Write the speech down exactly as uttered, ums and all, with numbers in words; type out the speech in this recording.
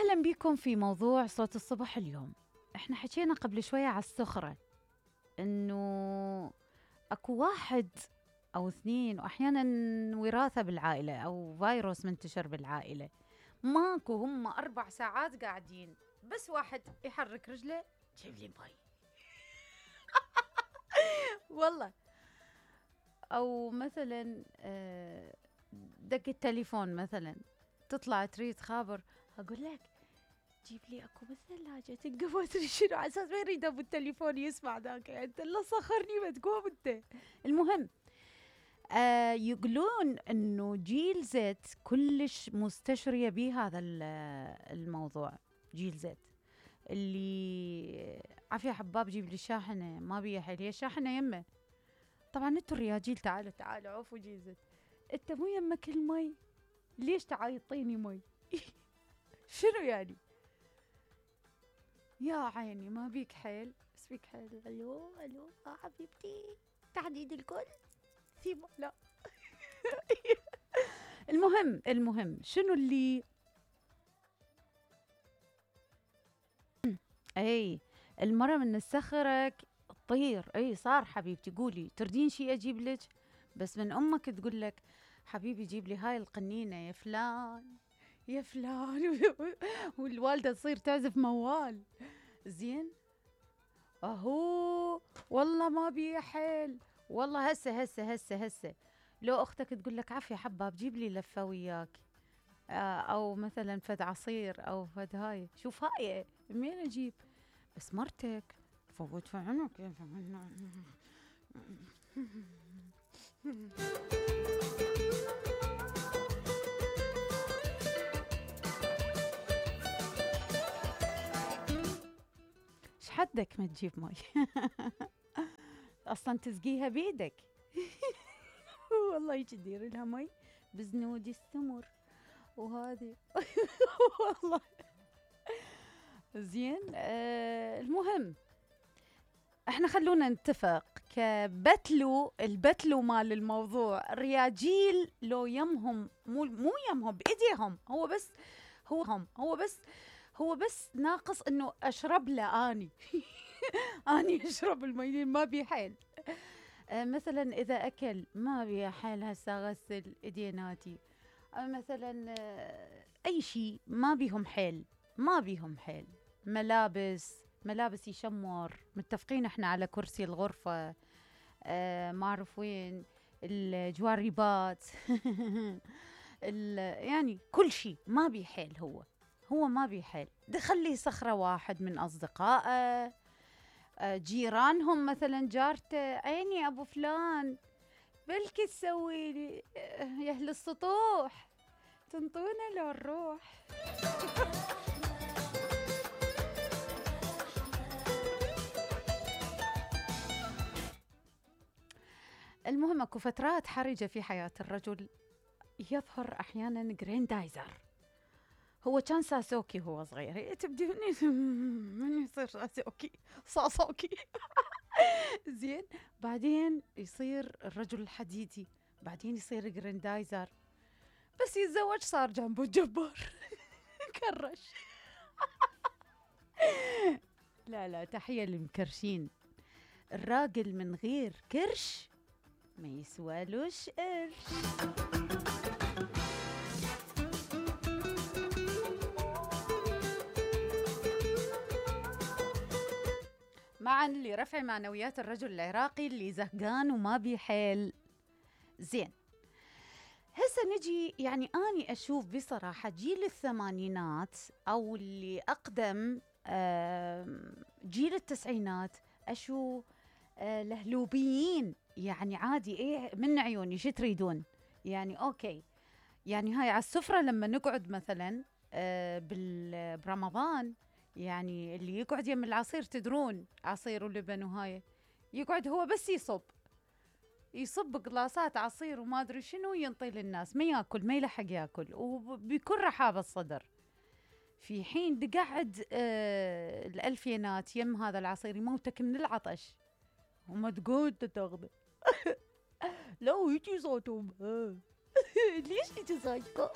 أهلا بكم في موضوع صوت الصبح اليوم. احنا حكينا قبل شوية على السخرة، انه اكو واحد او اثنين واحيانا وراثة بالعائلة او فيروس منتشر بالعائلة، ماكو هم اربع ساعات قاعدين بس واحد يحرك رجله جيب لي ماي والله. او مثلا آه، دق التليفون مثلا، تطلع تريد خابر، اقول لك جيب لي اكو بالثلاجة تلقى ما ادري شنو، على اساس ما يريد ابو التليفون يسمع ذاك، يعني انت لا صخرني ما تقوم انت. المهم آه يقولون انه جيل زد كلش مستشرية به هذا الموضوع. جيل زد اللي عافية حباب جيب لي الشاحنة، ما بيها حيل، هي الشاحنة يمه. طبعا انتوا الرياجيل تعالوا تعالوا عوفوا جيل زد، انت مو يمك المي ليش تعيطيني مي؟ شنو يعني؟ يا عيني ما بيك حيل، بس بيك حيل. الو الو اه حبيبتي تحديد الكل ثيما لا. المهم المهم شنو اللي اي المرة من السخرك تطير. اي صار حبيبتي قولي تردين شي اجيب لك، بس من امك تقول لك حبيبي جيب لي هاي القنينة يا فلان يا فلان. والوالدة تصير تعزف موال زين. اهو والله ما بي حيل، والله هسه هسه هسه هسه لو اختك تقول لك عافية حباب جيب لي لفة وياك، آه او مثلا فد عصير او فد هاي، شوف هاي منين اجيب؟ بس مرتك فوت في عنك يا حدك ما تجيب مي. اصلا تسقيها بيدك. والله يجي تدير لها مي بزنود السمر وهذه. والله زين. آه المهم احنا خلونا نتفق كبتلو البتلو مال الموضوع، الرياجيل لو يمهم مو مو يمهم بايديهم، هو بس هو هم هو بس هو بس ناقص انه اشرب له اني. اني اشرب المي ما بي حيل. آه مثلا اذا اكل ما بي حيل هسه اغسل ايديناتي، آه مثلا آه اي شيء ما بيهم حيل ما بيهم حيل. ملابس ملابس يشمر، متفقين احنا على كرسي الغرفة، آه ما اعرف وين الجواريبات. يعني كل شيء ما بي حيل، هو هو ما بي حيل. دخل لي صخرة واحد من أصدقائه، جيرانهم مثلا جارته، عيني أبو فلان بلكي تسوي لي يا أهل السطوح تنطونا لو نروح. المهم اكو فترات حرجة في حياة الرجل يظهر أحيانا جريندايزر. هو كان ساسوكي هو صغير، تبدي من يصير ساسوكي ساسوكي. زين بعدين يصير الرجل الحديدي، بعدين يصير جريندايزر، بس يتزوج صار جنبه الجبار. كرش. لا لا تحية للمكرشين، الراجل من غير كرش ما يسوالوش قرش. معا لرفع معنويات الرجل العراقي اللي زهقان وما بيحيل. زين هسه نجي، يعني أني أشوف بصراحة جيل الثمانينات أو اللي أقدم جيل التسعينات، أشوف الهلوبيين يعني عادي، إيه من عيوني شو تريدون يعني؟ أوكي يعني هاي على السفرة لما نقعد مثلا برمضان، يعني اللي يقعد يم العصير تدرون عصير ولبن وهاي، يقعد هو بس يصب يصب قلاصات عصير وما ادري شنو، ينطي للناس، ما ياكل ما يلحق ياكل وبكل رحابة الصدر. في حين تقعد آه الألفينات يم هذا العصير يموتك من العطش وما تقعد تاخذه. لو يجي صوتهم. ليش يجي صوتكم؟